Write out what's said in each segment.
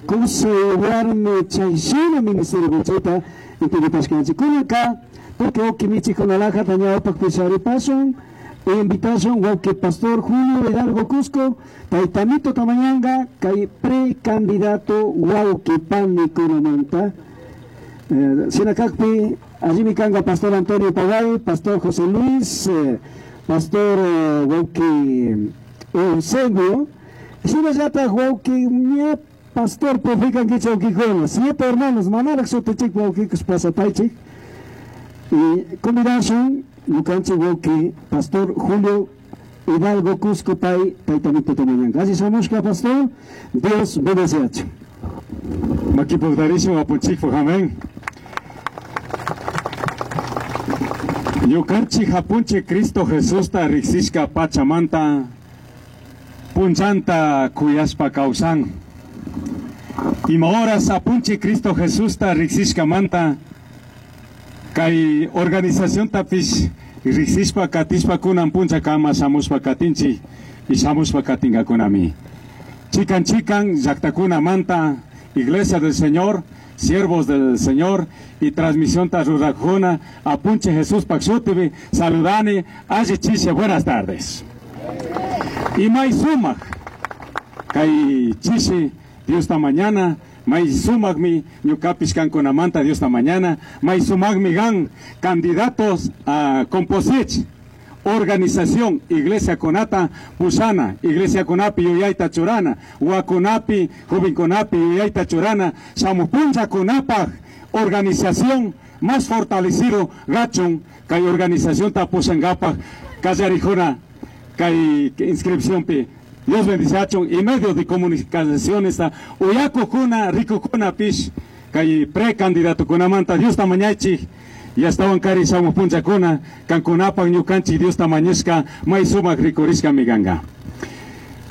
Kusay warmi chay shina ministerio chayta intendipashkanchik. Kunanka tukuy wawqi michikunalajata ñawpaqpi sharipashun invitashun wawqi pastor Julio Hidalgo Cusco taytamito tamañanga kay precandidato wawqi panikunamanta. Shina kakpi allimi kanga pastor Antonio Pagay, pastor José Luis, pastor wawqi Eusebio, shinallataj wawqi ña pastor profikankichik wawqikuna, siete hermanos manaraq shutichik wawqikus pasapaychik. Y convidashun ñukanchik wawqi pastor Julio Hidalgo Cusco pay taytamito tamañanka. Así shamushka pastor, Dios bendeciachun. Makipuktarishun apunchikpuk, amén. Ñukanchik apunchik Cristo Jesusta riksishka pachamanta punchanta kuyashpa kawsan. Ima horas apunchik Cristo Jesusta riksishkamanta kay organizaciontapish riksishpa katishpa kunan puncha kama shamushpa katinchik y shamushpa katinkakunami. Chikan chikan llaktakunamanta Iglesia del Señor, siervos del Señor y transmisión rurajuna apunche Jesús Paxutibi, saludani, alli chishe, buenas tardes. Y may sumak, kay chishi, Dios ta mañana, may sumak mi ñukapish kankunamanta Dios ta mañana, may sumak mi gan candidatos a composich, organización Iglesia Kunata Pusana, Iglesia Kunapi Yuyayta Churana, Wakunapi, Joven Kunapi Yuyayta Churana, Samupuncha Kunapaj, organización más fortalecido gachun, kay organización tapusangapaj, Kallarijuna, kay inscripción pi. Dios bendiciachun y medios de comunicación está uyakukuna, rikukuna pish, kay precandidato kunamanta Dios tamañachi. Y hasta kari shamupunchakuna, kankunapaj ñukanchik Dios tamañishka, may sumak rikurishka miganga.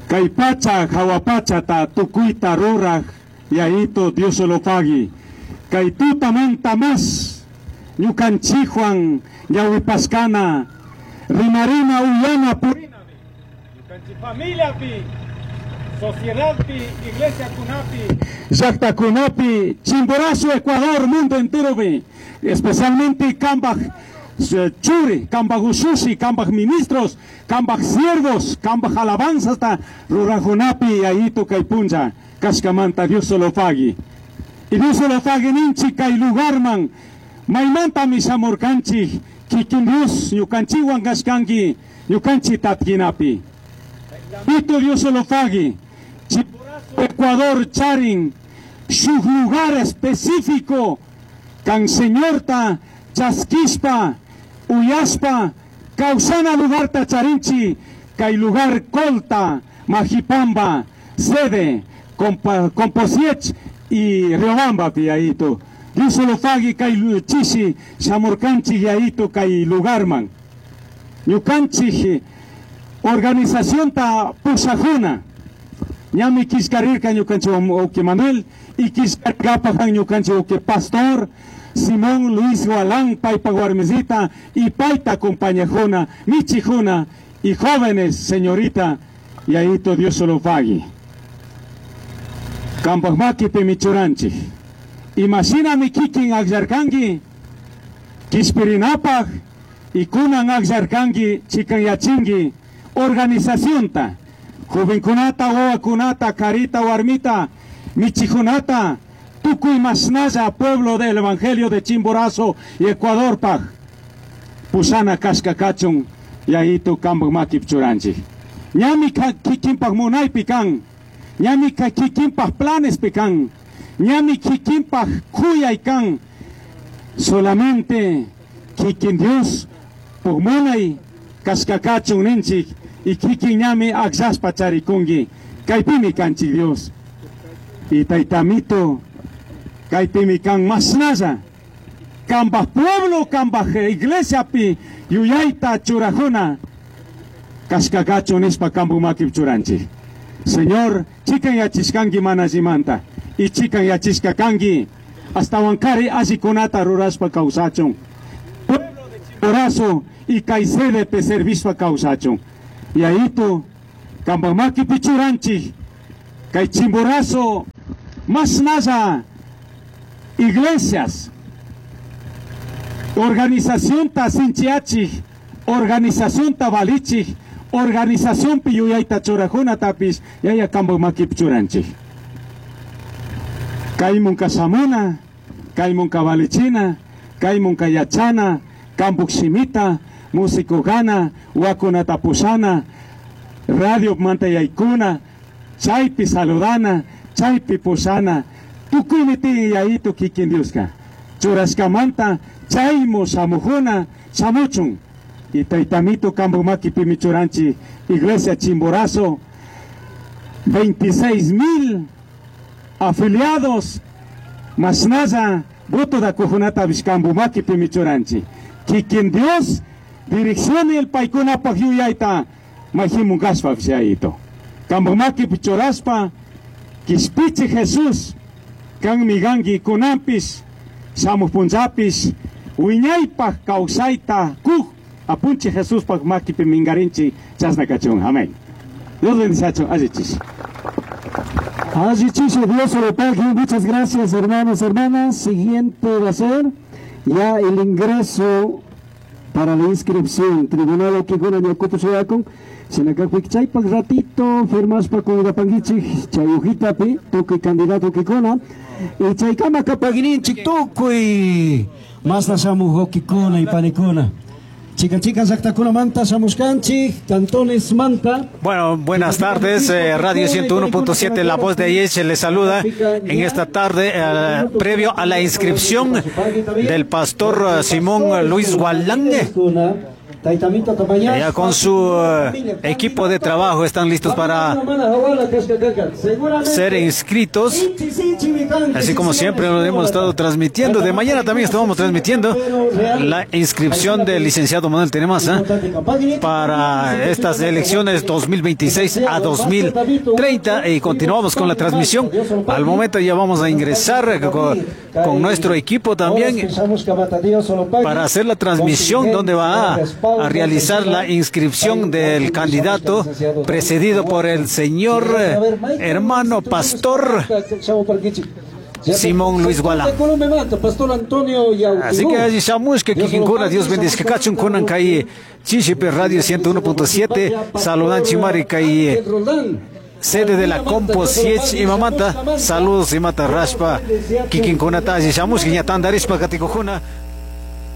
Kay pacha, hawa pacha ta tukuyta ruraj, yaito Dios solo pagui. Kay tutamanta más, ñukanchikwan, ñawipaskana, rimarina uyana purina. Ñukanchik familia pi, sociedad pi, iglesia kunapi, llaqta kunapi, Chimborazo, Ecuador, mundo entero pi. Especialmente kambaj churi, kambaj ushushi, kambaj ministros, kambaj siervos, kambaj alabanzas ta rurajunapi ayito kay puncha, kashkamanta Dios solo pagui. Y Dios solo pagui ninchi kay lugarman, maymanta mishamurkanchi, kikin Dios ñukanchiwan kashkanki, ñukanchi tatkinapi. Pito Dios solo pagui. Chimborazo, Ecuador, charin, su lugar específico, kan señorta chaskishpa, uyashpa, causana lugarta charinchi, kay lugar Colta, Majipamba, sede, Composiech y Riobamba piaito. Dios solo pagui kay chishi, shamurkanchi yaito kay lugarman. Ñukanchi organización ta pusajuna. Ñami kishkarirka ñukanchi oki Manuel y kishkarkapajan ñukanchi oki Pastor Simón Luis Gualán, paypa warmisita y payta acompañajuna, michijuna y jóvenes, señorita, y ahí to Dios solo pagui. Kampajmaki pimichuranchi. Imagina mi kikin akllarkanki, kishpirinapaj y kunan akllarkanki, chikanyachinki, organizacionta, jovenkunata, wawakunata, karita, warmita, michijunata, tukuy masnalla, pueblo del Evangelio de Chimborazo y Ecuador paj. Pusana kashka kachun, y ahí tu kambaj makip churanchi. Ñami kikinpaj munaypi kan, ñami kikinpaj planes pi kan, ñami kikinpaj kuyay kan. Solamente kikin Dios pugmunay kashka kachun ninchik, y kikin ñami akllashpa charikunki, kaypimi kanchik Dios. Y taytamito, kaypimi kan masnalla, kambaj pueblo, kambaj iglesia pi, yuyayta churajuna, kashka kachun nishpa kampu makip churanchik. Señor, chikan yachishkanki manallimanta, y chikan yachishka kanki, hasta wankari allikunata rurashpa kawsachun. Pueblo de Chimborazo y kay sede servishpa kawsachun. Y ahí tu, kambaj makipi churanchik, kay Chimborazo. Mashnalla iglesias, organización ta sinchiachij, organización ta valichij, organización pi yuyayta churajunatapish yaya kampak makipi churanchik. Kaymunka shamuna, kaymunka valichina, kaymunka yachana, kampuk shimita, músico gana, wakunata pushana, radio manta yaykuna, chaypi saludana, chaypi pushana, tukuymi tiyan yayitu kikin Dioska. Churashkamanta chaymu shamujuna, shamuchun. Y taytamito kampak makipimi churanchik, Iglesia Chimborazo, 26,000 afiliados, mashnalla voto da kujunatapish kampak makipimi churanchik. Kikin Dios direccione el paykunapaj yuyayta mayjimun kashpapish yayito. Kampak makipi churashpa, kishpichi Jesús, kanmi kanki kunanpish, shamuj punllapish, wiñaypaj kawsayta kuj, apunchi Jesuspaj makipi minkarinchik, chashna kachun. Amén. Dios bendice, allichish. Allichish, Dios lo pague. Muchas gracias, hermanos, hermanas. Siguiente va a ser ya el ingreso para la inscripción. Tribunal Okikuna Ñakupu Shuyakun. Sinakakpik chaypak ratito firmashpa kuyrapankichik chay hojitapi tukuy candidato Okikuna. Y chaykama kapakininchik tukuy masna shamuj Okikuna y panikuna. Chica chica llaqtakunamanta shamushkanchik, cantones manta. Bueno, buenas tardes, Radio 101.7, La Voz de Ayeche les saluda en esta tarde, previo a la inscripción del pastor Simón Luis Gualán. Ya con su equipo de trabajo están listos para ser inscritos, así como siempre lo hemos estado transmitiendo. De mañana también estamos transmitiendo la inscripción del licenciado Manuel Tenemaza para estas elecciones 2026 a 2030, y continuamos con la transmisión. Al momento ya vamos a ingresar con nuestro equipo también para hacer la transmisión donde va a realizar la inscripción del candidato precedido por el señor hermano pastor Simón Luis Gualán. Así que allí shamush que kikinkuna, Dios bendice kachun kunan kay Chishipe Radio 101.7, saludan chimari kay sede de la Compo Siech y Mamanta, saludos y mata raspa kikinkunata allí shamush que ña tandarishpa katikujuna.